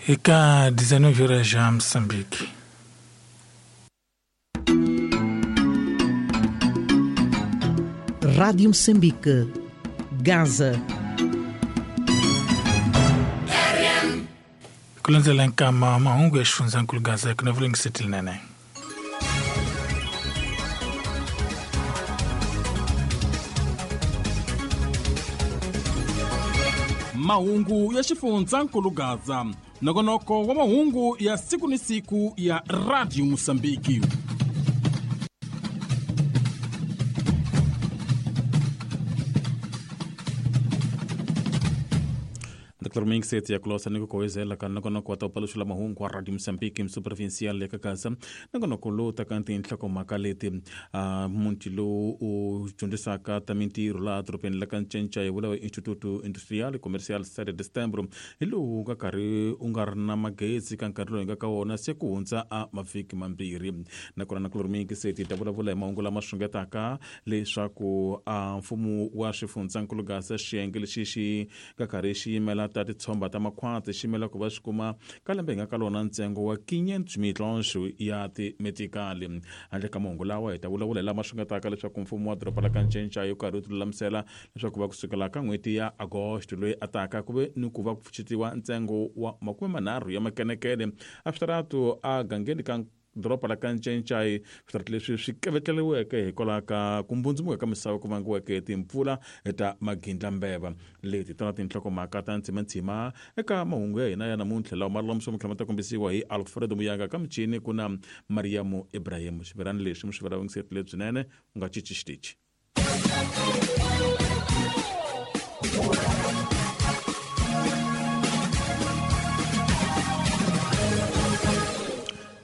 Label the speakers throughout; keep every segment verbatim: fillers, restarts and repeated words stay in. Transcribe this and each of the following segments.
Speaker 1: Eka dezenove horas já Moçambique.
Speaker 2: Rádio Moçambique, Gaza.
Speaker 1: Kulandzela nkama mahungu ya xifundzankulu Gaza ku na vulengiseteli nene.
Speaker 3: Mahungu ya xifundzankulu Gaza, nongonoko wa mahungu ya siku ni siku ya Radio Mozambique. Doctor Minxet ya kulosa ni kukoezela ka nongonoko wa taupaluxula mahungu wa Radio Mozambique msuprovincial le ka Gaza. Nongonoko lowu taka tinhlokomhaka leti uh, muti lowu u dyondzisaka ta mintirho laha dorobeni la ka Ncenca hi vula Instituto Industrial Comercial sete de Setembro hi lowu nga karhi u nga ri na magezi ka nkarhi lowu hi nga ka wona se ku hundza a mavhiki mambirhi. Nakona na Doctor Minxet yi ta vulavula hi mahungu lama xungetaka leswaku uh, mfumo wa xifundzankulu Gaza xiyenge lexi xi nga karhi xi yimela ta titshomba ta makhwati xi yimela ku va swi kuma ka lembe hi nga ka lona ntsengo wa quinhentos milhões ya timetikali. Handle ka mahungu lawa hi ta vulavula hi lama xungetaka leswaku mfumo wa doroba la ka Ncenca yi karhi wu tilulamisela leswaku va kusukela ka n'hweti ya Agosto loyi a taka ku ve ni ku va ku pfuxetiwa ntsengo wa makume manharhu ya makenekene a switaratu a gangeni ka doroba la ka Ncenca. Switaratu leswi swi kevetleriweke hikwalaho ka ku mbundzumuka ka misava ku vangiweke hi timpfula ta magindlambeva. Leti tona tinhlokomhaka ta ntsimantsima eka mahungu ya hina ya namuntlha lawa ma lulamiswa ma ta kombisiwa hi Alfredo Muyanga ka michini ku na Mariamu Ibrahim. Xivirani lexi mi swi vula vungiseti lebyinene u nga cinci xitichi.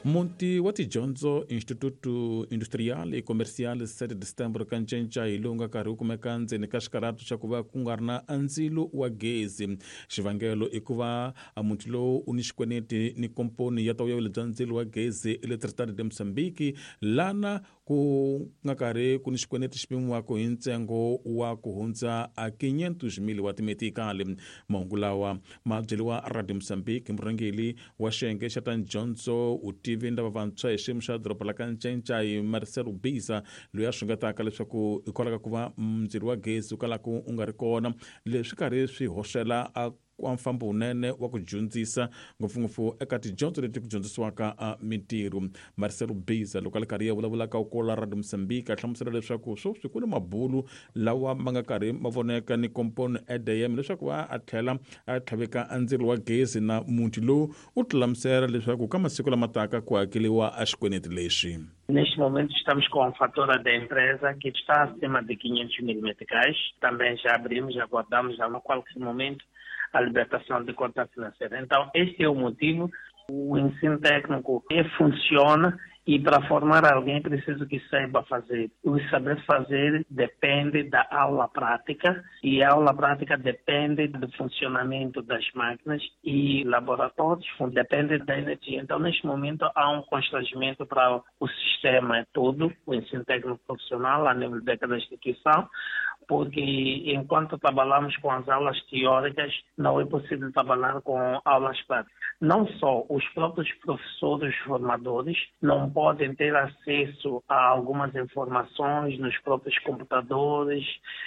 Speaker 3: Muti wa tidyondzo Instituto Industrial e Comercial sete de Setembro ka Ncenca hi lowu nga karhi wu kumeka ndzeni ka xikaratu xa ku va ku nga ri na ndzilo wa gezi. Xivangelo i ku va muti lowu u ni xikweleti ni komponi ya tawuyelo bya ndzilo wa gezi Eletricidade de Moçambique lana ku nga karhi ku ni xikweleti xi pimiwaka hi ntsengo wa ku hundza a quinhentos mil wa timetikali. Mahungu lawa ma byeriwa Radio Mozambique murhangeri wa xiyenge xa ta dyondzo vutivi lava vantshwa hi xiyimo xa doroba la ka Ncenca hi Marcelo Biza loyi a xungetaka leswaku hikwalaho ka ku va ndzilo wa gezi wu kalaka u nga ri kona leswi karhi swi hoxela a wa mfambo wunene wa ku dyondzisa ngopfungopfu eka tidyondzo leti ku dyondzisiwaka a mintirho. Marcelo Biza loko a li karhi ya vulavulaka kola Radio Mozambique a hlamusela leswaku sweswi ku ni mabulu lawa ma nga karhi ma voneka ni komponi E D M leswaku va a tlhela a tlhaveka ndzilo wa gezi na muti lowu u tilamusela leswaku ka masiku lama taka ku hakeriwa a xikweleti lexi.
Speaker 4: Neste momento estamos com a fatura da empresa que está acima de quinhentos mil meticais. Também já abrimos, já aguardamos a qualquer momento a libertação de conta financeira. Então, este é o motivo. O ensino técnico funciona e para formar alguém preciso que saiba fazer. O saber fazer depende da aula prática e a aula prática depende do funcionamento das máquinas e laboratórios depende da energia. Então, neste momento, há um constrangimento para o sistema todo, o ensino técnico profissional, a nível de cada instituição, porque enquanto trabalhamos com as aulas teóricas, não é possível trabalhar com aulas práticas. Não só os próprios professores formadores não podem ter acesso a algumas informações nos próprios computadores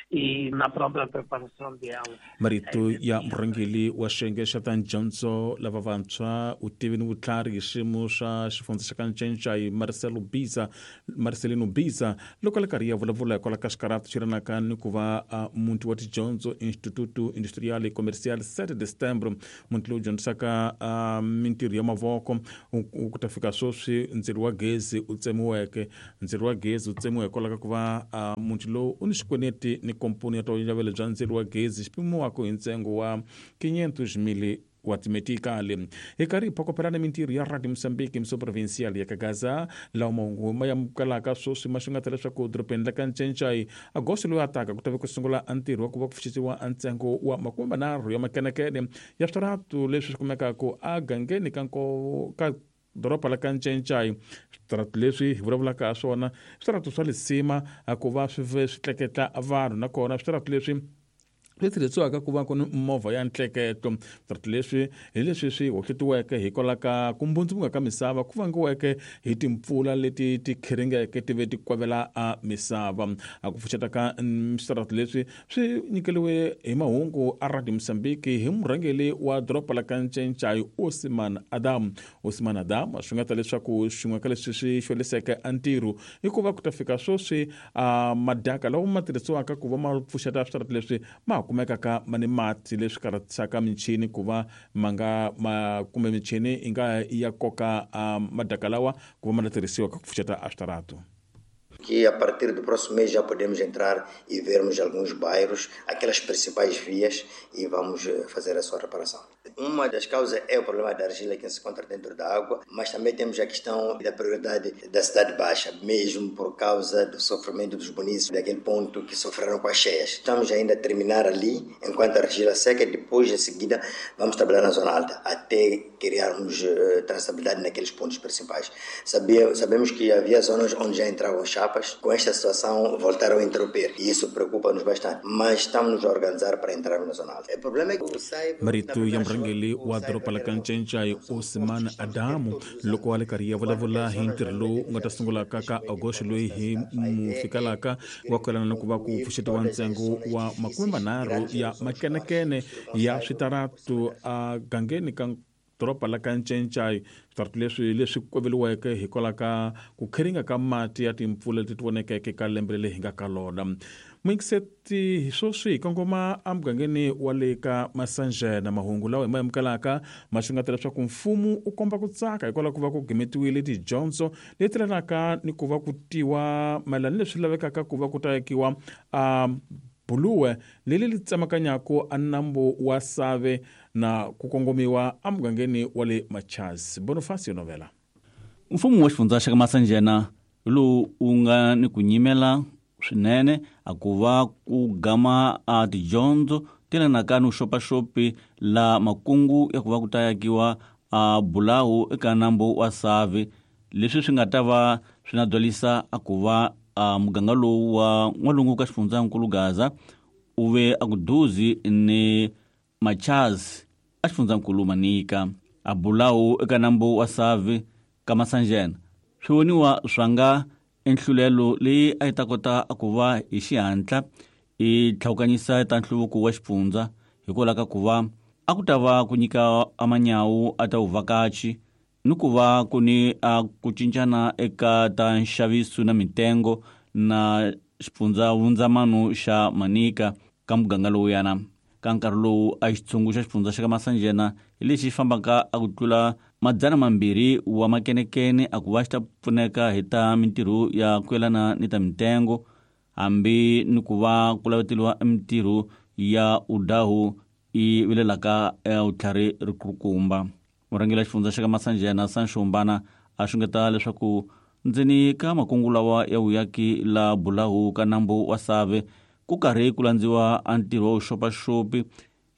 Speaker 4: e na própria preparação de aula.
Speaker 3: Marito ya murhangeri wa xiyenge xa ta dyondzo lava vantshwa vutivi ni vutlhari hi xiyimo xa xifundza xa ka Ncenca hi Marcelo Biza Marcelino Biza loko a li karhi ya vulavula hikwalaho ka xikaratu xi rinaka ni ku va muti wa tidyondzo Instituto Industrial e Comercial sete de Setembro muti lowu dyondzisaka mintirho ya mavoko ku ta fika sweswi ndzilo wa gezi u tsemiweke ndzilo wa gezi u tsemiwa hikwalaho ka ku va muti lowu u ni xikweleti ni komponi ya tawuyelo bya ndzilo wa gezi xi pimiwaka hi ntsengo wa quinhentos mil wa timetikali. Hi karhi hi phokopelana mintirho ya Radio Mozambique msuprovincial ya Kagaza lawa mahungu ma amukelaka sweswi ma xungeta leswaku dorobeni la ka Ncenca Agosto loyi a taka ku ta ve ku sungula ntirho wa ku va ku pfuxetiwa ntsengo wa makume manharhu ya makenekene ya switaratu leswi swi kumekaka a gangeni ka nko ka doroba la ka Ncenca. Switaratu leswi hi vulavulaka ha swona switaratu swa lisima ku va swi swi tleketla vanhu nakona switaratu leswi Leyi tirhisiwaka ku va ku ni movha ya ntleketo. Switarati leswi hi leswi swi hohletiweke hikwalaho ka ku mbundzumuka ka misava ku vangiweke hi timpfula leti ti khiringeke ti ve ti kwavela a misava. A ku pfuxeta ka switarati leswi swi nyikeliwe hi mahungu a Radio Mozambique hi murhangeri wa doroba la ka Ncencai, Osman Adam. Osman Adam swi nga ta leswaku xin'we ka leswi swi xweliseke a ntirho i ku va ku ta fika sweswi a madaka lawa ma tirhisiwaka ku va ma pfuxeta switarati leswi ma kumekaka ma ni mati, leswi karhatisaka michini ku va ma nga ma kumbe michini yi nga ya koka madaka lawa ku va ma ta tirhisiwa ka ku pfuxeta a switarati.
Speaker 5: Que a partir do próximo mês já podemos entrar e vermos alguns bairros, aquelas principais vias, e vamos fazer a sua reparação. Uma das causas é o problema da argila que se encontra dentro da água, mas também temos a questão da prioridade da cidade baixa, mesmo por causa do sofrimento dos munícipes daquele ponto que sofreram com as cheias. Estamos ainda a terminar ali, enquanto a argila seca, e depois, em seguida, vamos trabalhar na zona alta, até criarmos uh, traçabilidade naqueles pontos principais. Sabia, sabemos que havia zonas onde já entravam chapas. Com esta situação voltaram a interromper e isso preocupa-nos bastante, mas estamos a organizar para entrar na zona alta. O problema é que o sai
Speaker 3: marito ya murhangeri wa doroba la ka Ncencai, Osman Adamu, loko a le karhi ya vulavula hi ntirho lowu wu nga ta sungulaka ka Agosto loyi hi mu fikalaka wa kwelana na ku va ku pfuxetiwa ntsengo wa makume manharhu ya makenekene ya switaratu a gangeni ka doroba la ka Ncencai. Switarati leswi leswi kweveliweke hikwalaho ka ku khiringa ka mati ya timpfula leti ti vonekeke ka lembe leri hi nga ka lona. Muyingiseti hi sweswi hi kongoma emugangeni wa le ka Masanjena. Mahungu lawa hi ma amukelaka ma xungeta leswaku mfumo u komba ku tsaka hikwalaho ku va ku gimetiwile tidyondzo leti lelanaka ni ku va ku tiwa mayelana ni leswi lavekaka ku va ku ta akiwa a buluwe leri li tsemakanyaka a nambu wa Save na ku kongomiwa emugangeni wa le Machaz. Bonifacio Novela.
Speaker 6: Mfumo wa xifundza xa ka Masanjena lowu wu nga ni ku nyimela swinene a ku va ku gama a tidyondzo ti lelanaka ni vuxopaxopi la makungu ya ku va ku ta akiwa a bulawu eka nambu wa Save, leswi swi nga ta va swi na byalisa a ku va a muganga lowu wa n'walungu ka xifundzankulu Gaza u ve a ku duzi ni Machaz a xifundzankulu Manika. A bulawu eka nambu wa Save ka Masanjena swi voniwa swa nga enhlulelo leyi a yi ta kota a ku va hi xihatla i tlhawukanyisa ta nhluvuko wa xifundza hikwalaho ka ku va a ku ta va ku nyika amanyawu a ta vuvhakachi ni ku va ku ni a ku cincana eka ta nxaviso na mitengo na xifundza vundzamano xa Manika ka muganga lowuyana. Ka nkarhi lowu a xitshungu xa xifundza xa ka Masanjena hi lexi xi fambaka a ku tlula madzana mambirhi wa makenekene a ku va xi ta pfuneka hi ta mintirho ya ku yelana ni ta mitengo, hambi ni ku va ku laveteliwa mintirho ya udahu i vilelaka vutlhari rikulukumba. Murhangeri wa xifundza xa ka Masanjena Sanxombana a xungeta leswaku ndzeni ka makungu lawa ya vuyaki la bulahu ka nambu wa Save ku karhi ku landziwa a ntirho wa vuxopaxopi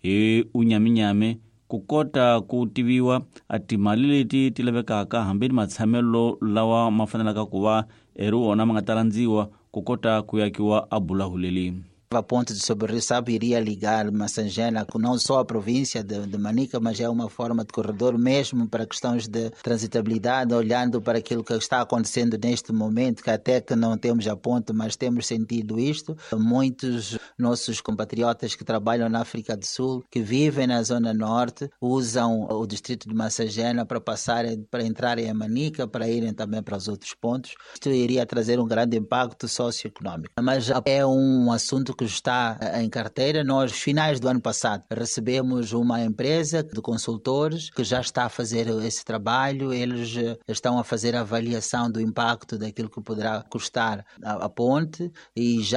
Speaker 6: hi unyaminyami ku kota ku tiviwa a timali leti ti lavekaka hambi ni matshamelo lawa ma fanelaka ku va eri wona ma nga ta landziwa ku kota ku yakiwa a bulahu leli.
Speaker 7: A ponte de sobre o Sabe iria ligar Massangena, não só a província de, de Manica, mas é uma forma de corredor mesmo para questões de transitabilidade, olhando para aquilo que está acontecendo neste momento, que até que não temos a ponte, mas temos sentido isto. Muitos nossos compatriotas que trabalham na África do Sul, que vivem na zona norte, usam o distrito de Massangena para passarem, para entrarem em Manica, para irem também para os outros pontos. Isto iria trazer um grande impacto socioeconômico. Mas é um assunto que está em carteira. Nós, finais do ano passado, recebemos uma empresa de consultores que já está a fazer esse trabalho. Eles estão a fazer a avaliação do impacto daquilo que poderá custar a, a ponte e já